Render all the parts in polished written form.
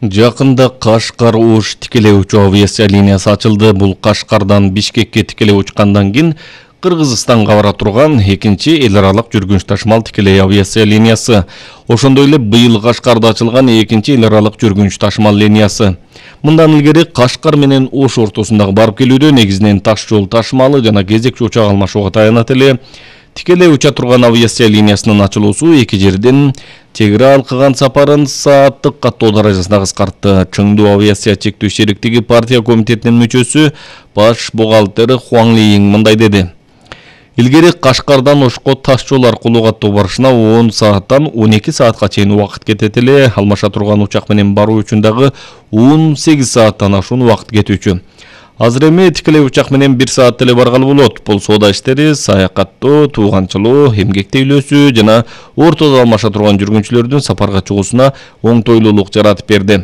Жакында Кашкар-Ош тикелей учуу авиация линиясы ачылды. Бул Кашкардан Бишкекке тикелей учкандан кийин Кыргызстанга бара турган экинчи эл аралык жүргүнч ташымал тикелей авиация линиясы. Ошондой эле быйыл Кашкарда ачылган экинчи эл аралык жүргүнч ташымал линиясы. Мындан илгери Кашкар менен Ош ортосундагы барып келүүдө негизинен таш жол ташымалы жана кезекчи учак алмашууга таянат эле. Тикелей уча турган авиация линиясынын ачылуусу эки жерден чегара алкыган сапарын сааттык каттоо даражасына кыскартты. Чыңдуу авиация чектөө шериктиги партия комитетинин мүчөсү баш бухгалтер Хуан Лиин мындай деди. Илгери Кашкардан Ошко таш жол аркылуу каттоо барышына 10 сааттан 12 саатка чейин убакыт кетет эле. Алмаша турган учак менен баруу үчүн дагы 18 сааттан ашуун убакыт кетүүчү. Азыр эми тикелей учак менен 1 саат эле баргалы болот. Бул соода иштери, саякаттоо, тууганчылоо, эмгек тейлөөсү жана ортодо алмаша турган жүргүнчүлөрдүн сапарга чыгуусуна оңтойлуулук жаратып берди.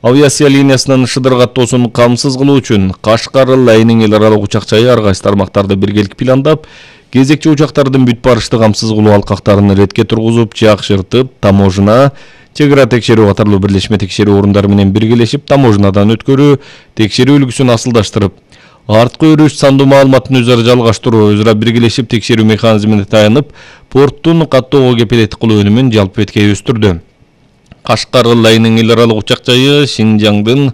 Авиация линиясынын шыдыр каттоосун камсыз кылуу үчүн Кашкар-Лайнин эл аралык учак жайы ар кайсы тармактарды биргелик пландап, кезекчи учактардын бүт барышты камсыз кылуу алкактарын ретке тургузуп, жакшыртып, таможна, чегара текшерүү катарлуу бирлешме текшерүү орундары менен биргелешип, таможнадан өткөрүү, текшерүү үлгүсүн асылдаштырып, арткы өрүш сандуу маалыматын өзара жалгаштыруу, өзара биргелешип текшерүү механизмине таянып, порттун каттоого кепилеттик кылуу өнүмүн жалпы бетке өстүрдү. Кашкар-Лайнин эл аралык учак жайы Шинжаңдын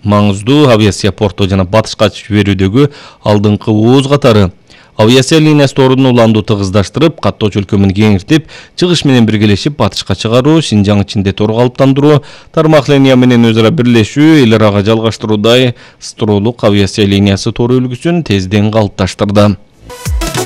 маңыздуу авиация порту жана батышка жиберүүдөгү алдыңкы ооз катары. Авиация линиясы ордун уланду тыгыздаштырып, каттоо чөлкөмүн кеңиртип, чыгыш менен биргелешип батышка чыгаруу, Шинжаң ичинде тор калыптандыруу, тармак линия менен өзара бирлешүү, эл арага жалгаштыруудай строолук авиация линиясы тору үлгүсүн тезден калыпташтырды.